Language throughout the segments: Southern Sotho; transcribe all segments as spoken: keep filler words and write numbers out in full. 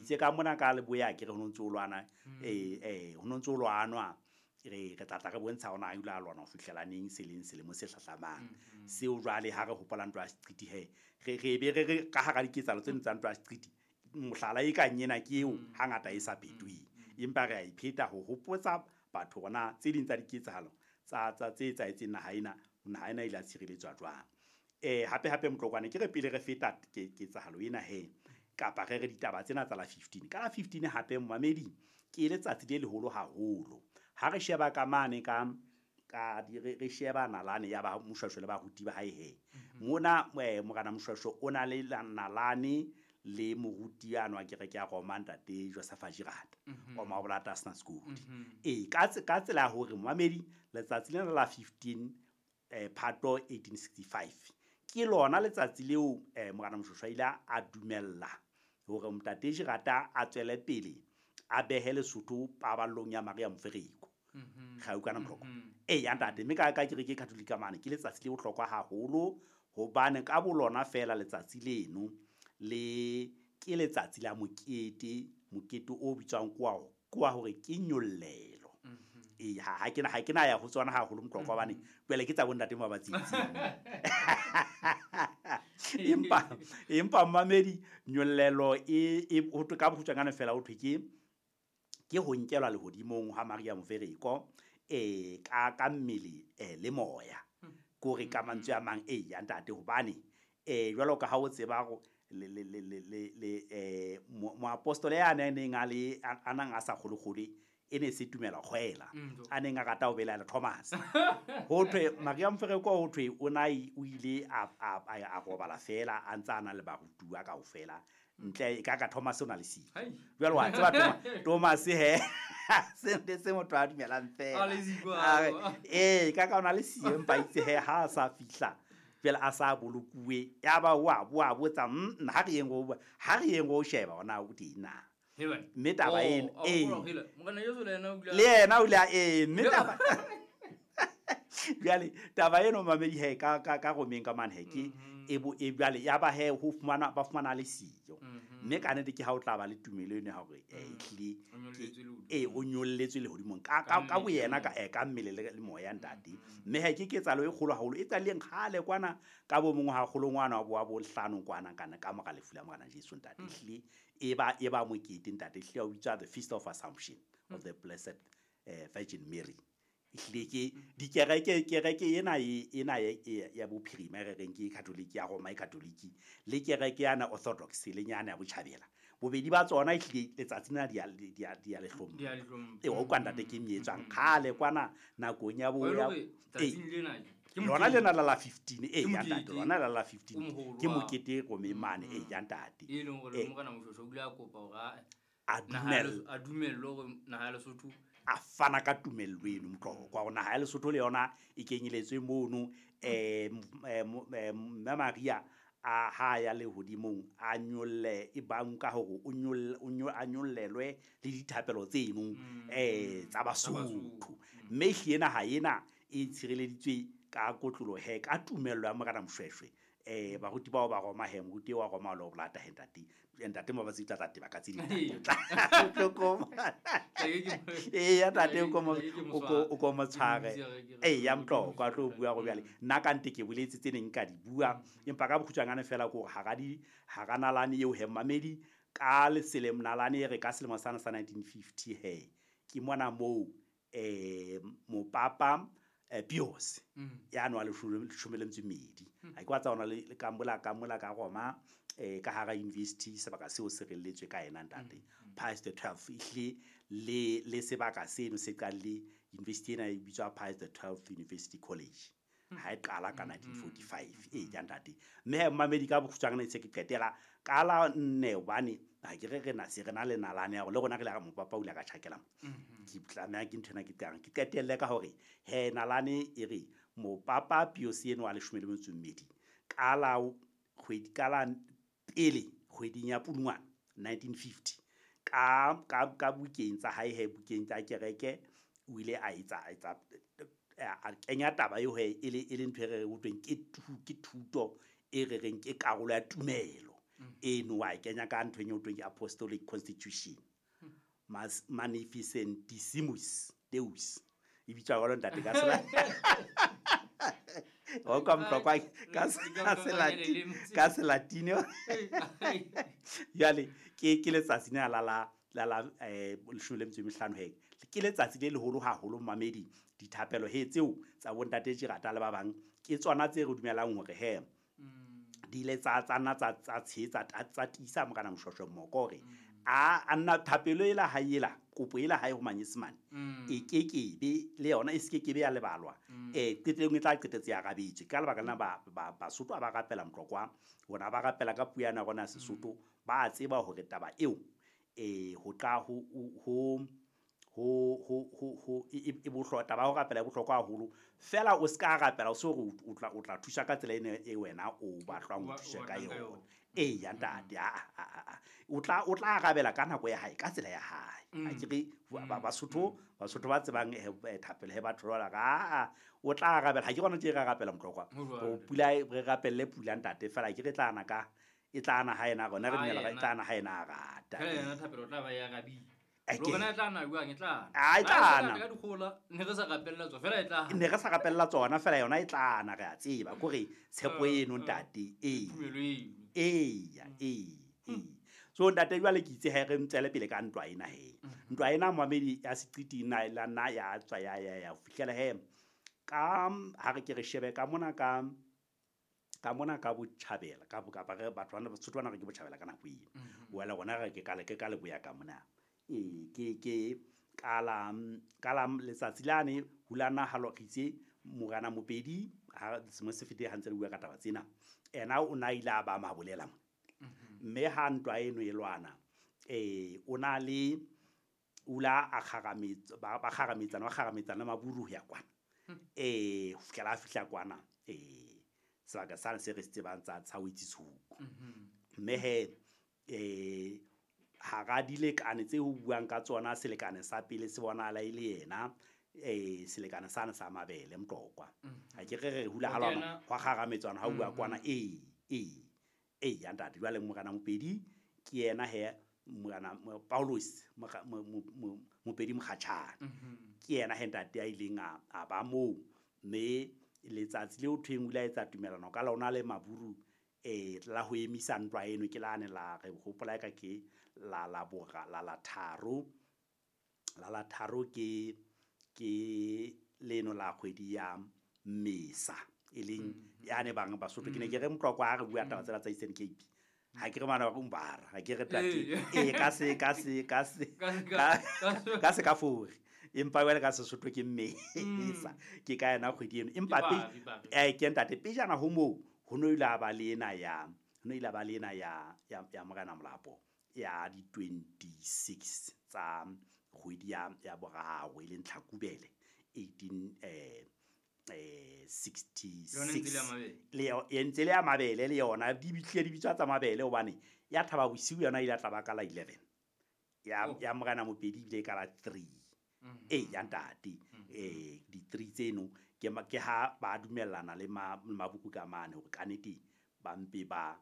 itse ka mona ka leboya ke re ho ntse o lwana eh eh ho ntse o lwanwa re re tla tla re bontsha hona a ile a lwana ho fihlela neng seleng selemo se hlahlamang. Seo jwale ha re hopola ntwa ya Seqiti he re re be re re ka hara diketsahalo tseno tsa ntwa ya Seqiti mohlala e kang ena ke eo hangata e sa phetweng, empa re a ipheta ho hopotsa batho hona tse ding tsa diketsahalo tsa tsa tse etsahetseng naha ena, naha ena e ile ya tshireletswa jwang. Eh hape hape Motlokwane ke re pele re feta ke ketsahalo ena he kapa re re ditaba tsena tsa la fifteen ka la fifteen hape momamedi ke letsatsi le leholo haholo ha re sheba ka mane ka ka di re re sheba nalane ya ba Moshweshwe le baruti ba hae he mona eh, morena Moshweshwe o na le nalane le moruti ya nwa kereke ya Roma ntate Joseph Girard wa Mabolata Sna School. E ka ka tsela ya hore momamedi letsatsi lena la fifteen eh Phato eighteen sixty-five ke lona letsatsi leo eh morena Moshweshwe ile a dumella hore ntate Girard a tswele pele a behe Lesotho paballong ya Maria Mofereko. Ga o kana mhloko. E ya ntate mme ka ka kereke Catholic mane ke letsatsi le bohlokwa haholo hobane ka bolona fela letsatsi leno le ke letsatsi la mokete, mokete o bitswang kwa kwa hore ke nyollelo. E ha ha kena ha kena ya ho tsona haholo mhloko hobane pele ke tsa bo ntate ba batsitsi. Empa empa mamedi nyollelo e e ho thwe ka bokgutshwanyane fela ho thwe ke ke ho nkelwa lehodimong ha Maria Mofereko eh ka ka mmele eh le moya kore ka mantswe a mang e ya ntate hobane eh jwalo ka ha o tseba go le le le le le eh moapostole ya neng a le a nang a sa kgolokgole e ne se tumela kgwela a neng a rata ho belaela Thomas ho thwe Maria Mofereko ho thwe o na o ile a a a robala fela a ntsa ana le barutuwa kaofela ntle ka ka Thomas o na le siyo jwale wa tseba Thomas Thomas he se ntse se motho a dumelang fela eh ka ka ona le siyo empa itse he ha a sa fihla jwale a sa bolokuwe ya ba wa wa botsa nna ha re yeng go ha re yeng go sheba ona o teng na mme taba eno eh le yena o ile eh mme taba jwale taba eno mamedi he ka ka ka romeng ka mane he ke e bo e jwale ya ba he ho fumana ba fumana le siyo mme ka nnete ke ha o tla ba le tumelo eno ya hore eh ehlile eh o nyolletswe lehodimong ka ka ka boyena ka eh ka mmele le moya ntate mme he ke ketsahalo e kgolo haholo e tsaleng kgale kwana ka bo mongwe ha kgolo ngwana wa bo wa bo hlano kwana kana ka mora lefu la morena Jesu ntate ehlile e ba e ba mokete ntate ehlile o bitswa the Feast of Assumption of the Blessed eh, Virgin Mary. Ehlile ke dikereke kereke ena e ena ya bophirima re reng ke Catholic ya Roma e Catholic le kereke yana Orthodox le nyana ya botjhabela bobedi ba tsona ehlile letsatsi na di di di a lehlomo e o kwa ntate ke meetswang kgale kwana nakong ya bo ya lona lena la la fifteen e ya ntate lona la la fifteen ke mokete Rome mane e ya ntate e leng hore morena Moshweshwe o ile a kopa hore a dumela a dumellwe hore naha ya Lesotho a fana ka tumello eno Motlokwa hore naha ya Lesotho le yona e kenyeletswe mono eh mme Maria a ha ya lehodimong a nyolle e banka hore o nyolle o a nyollelwe le dithapelo tseno eh tsa Basotho mme ehlile naha ena e tshireleditswe ka kotlolo he ka tumello ya morena Moshweshwe eh baruti bao ba Roma he moruti wa Roma lo bolata he ntate ntate mo ba tsitla tate ba ka tse di tloko eh ya ntate o ko o ko mo tshware eh ya Motlokwa tlo bua go bjale nna ka nte ke boletse tse neng ka di bua empa ka bokgutshwanyane fela ko hara di hara nalane eo he mamedi ka leselem nalane re ka selemo sana sa nineteen fifty he ke mona moo eh mopapa eh Pius ya no a leshome le metso e mmedi ha ke wa tsa ona le ka mola ka mola ka Roma eh ka hara university sebaka seo se relletswe ka yena ntate Pius the twelfth ehlile le le sebaka seno se qale university ena e bitswa Pius the twelfth University College ha e qala ka nineteen forty-five e ja ntate mme mamedi ka bokgutshwanyane se ke qetela ka la nne hobane ha ke re re na se re na le nalane ya le rona re le ga mopapa o ile ka tjhakela ke tlameha ke nthwena ke tlang ke qetelle ka hore he nalane e re mopapa Pius eno wa leshome le metso e mmedi ka la kgwedi ka la pele kgweding ya Pudungwana nineteen fifty ka ka ka bukeng tsa hae he bukeng tsa kereke o ile a etsa etsa a kenya taba eo he e le e le ntho e re utlweng ke ke thuto e re reng ke karolo ya tumelo Eno wa e kenya ka nthong eo thweng ke Apostolic Constitution. Mas Magnificentissimus Deus. E bitswa jwalo ntate ka sela. O ka mtlokwa ka Selatini, ka Selatini. Jwale ke ke letsatsi lena la la la la eh leshome le metso e mehlano he. Ke letsatsi le leholo haholo mamedi dithapelo he tseo tsa bontate Tjirata le ba bang ke tsona tse re dumelang hore he di ile tsa tsa nna tsa tsa tshehetsa tsa tiisa Morena Moshoeshoe Mmoko hore a a nna thapelo ela hae ela kopo ela hae ho Manyesemane e kekebe le yona e se kekebe ya lebalwa eh qetellong e tla qetetse ya arabetswe ka lebaka lena ba ba Basotho ba rapela Motlokwa bona ba rapela ka puo ya rona ya Sesotho ba tseba hore taba eo eh ho tla ho ho ho ho ho ho e bohlokwa taba ya ho rapela e bohlokwa haholo fela o ska rapela o se hore o tla o tla thusa ka tsela ena e wena o batlwang ho thusa ka yona e ya ntate a a o tla o tla arabela ka nako ya hae ka tsela ya hae a ke re Basotho Basotho ba tsebang thapelo he batho ba ka o tla arabela ha ke gona tje re rapela Motlokwa o pula re rapelle pula ntate fela ke re tla ana ka e tla ana ha ena rona re dumela e tla ana ha ena a rata fela yena thapelo tla ba ya arabile Rona e tla na jwang e tla na. E tla na. Ka dikgola ne re sa rapella tsona fela e tla. Ne re sa rapella tsona fela yona e tla na re a tseba kore tshepo eno ntate e. Tumelo eno. Eya e e. So ntate jwale ke itse ha re ntsele pele ka ntwa ena he. Ntwa ena mamedi ya seqiti na la nna ya tswa ya ya ya fihlela he. Ka ha re ke re shebe ka mona ka ka mona ka botjhabela ka kapa re batho bana Basotho bana re ke botjhabela ka nako eno. Wela rona re ke ka le ke ka leboya ka mona. E ke ke kala kala letsatsi lane hulana halo ritse Morena Mopedi ha sengwe se fete ha ntse re bua ka taba tsena ena o na ile a ba mabolela mo mme ha ntwa eno e lwana eh o na le ula a kgarametsa ba ba kgarametsana ba kgarametsana maburu ya kwana eh ho fihlela a fihla kwana eh sebaka sa se re se tsebang tsa tsa ho itshuku mme he eh hara dilekane tse ho buang ka tsona selekane sa pele se bonahala e le yena eh selekane sana sa mabele Motlokwa ha ke re re hula halwana hwa kgarametswana ha bua kwana e e e ya ntate jwale Morena Mopedi ke yena he Morena Paulus Mopedi Mokgatjhane ke yena he ntate a ileng a ba moo mme letsatsi leo thweng o ile a etsa tumelano ka lona le maburu eh la ho emisa ntwa eno ke lane la re hopola ka ke la la bora la la tharo la la tharo ke ke leno la kgwedi ya Mmesa e leng yane bang Basotho ke ne ke re Motlokwa ha re bua taba tsela tsa Eastern Cape ha ke re mana ba umbara ha ke re tate e ka se ka se ka se ka se ka fore empa wena ka Sesotho ke Mmesa ke ka yena kgwedi eno empa eh ke ntate pejana ho moo ho no ile ba le ena ya ho no ile ba le ena ya ya Morena Molapo ya di twenty-six tsa kgwedi ya ya boraro e leng Tlhakubele eighteen eh eh sixty-six le e ntse le ya mabele le yona di bitlile di bitswa tsa mabele hobane ya thaba bosiu yona ile tla ba ka la eleven ya ya Morena Mopedi ile ka la three e ya ntate eh di three tseno ke ke ha ba dumellana le mabuku ka mane hore ka nete ba mpe ba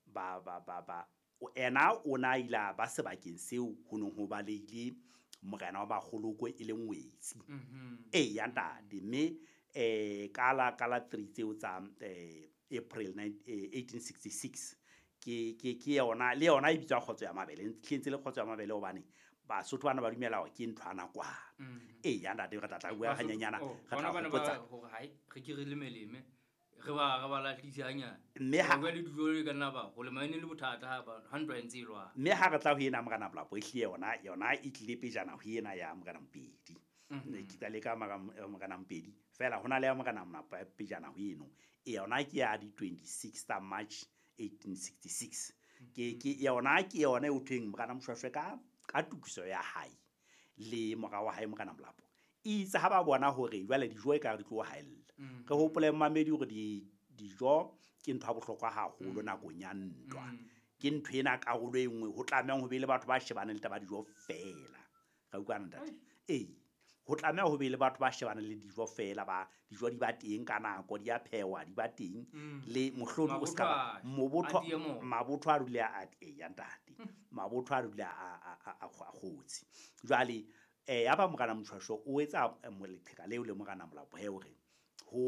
ba ba ba ba o ena o na ila ba sebakeng seo ho nong ho baleile morena wa bagoloko e le ngwetsi e ya ntate mme eh kala kala three tseo tsa eh April eighteen sixty-six ke ke ke yona le yona e bitswa kgotso ya mabele ntse le kgotso ya mabele hobane Basotho bana ba dumela hore ke ntho ana kwa e ya ntate re tla tla bua hanyanyana re tla hopotsa hore hai re ke re lemeleme re ba re ba latlise hanyane mme ha ba le dijo le kana ba go le maine le bothata ha ba ha ntwa ntse e lwa mme ha re tla ho ena Morena Molapo e hlile yona yona e tlile pejana ho ena ya Morena Mopedi ne ke tla le ka Morena Mopedi fela hona le ya Morena Molapo pejana ho eno e yona ke ya di twenty-six tsa March eighteen sixty-six ke ke yona ke yona e o thweng Morena Moshoeshoe ka ka tokiso ya hae le mora wa hae Morena Molapo itse ha ba bona hore jwale dijo e ka re tlo haella re hopole mamedi hore di dijo ke ntho ya bohlokwa haholo nakong ya ntwa ke ntho ena karolo e nngwe ho tlamehang ho be le batho ba shebaneng le taba dijo fela ra utlwana ntate ee Ho tlameha ho be le batho ba shebaneng le dijo fela, ba dijo di ba teng ka nako, di a phehwa, di ba teng. Mm. Le mohlodi o ska ba Mabotho mabotho a tiye moko. mabotho a dule a eya ntate. Mabotho a dule a a a a kgotse. Jwale eh ya ba Morena Moshweshwe o etsa eh, leqheka leo le Morena Molapo he hore ho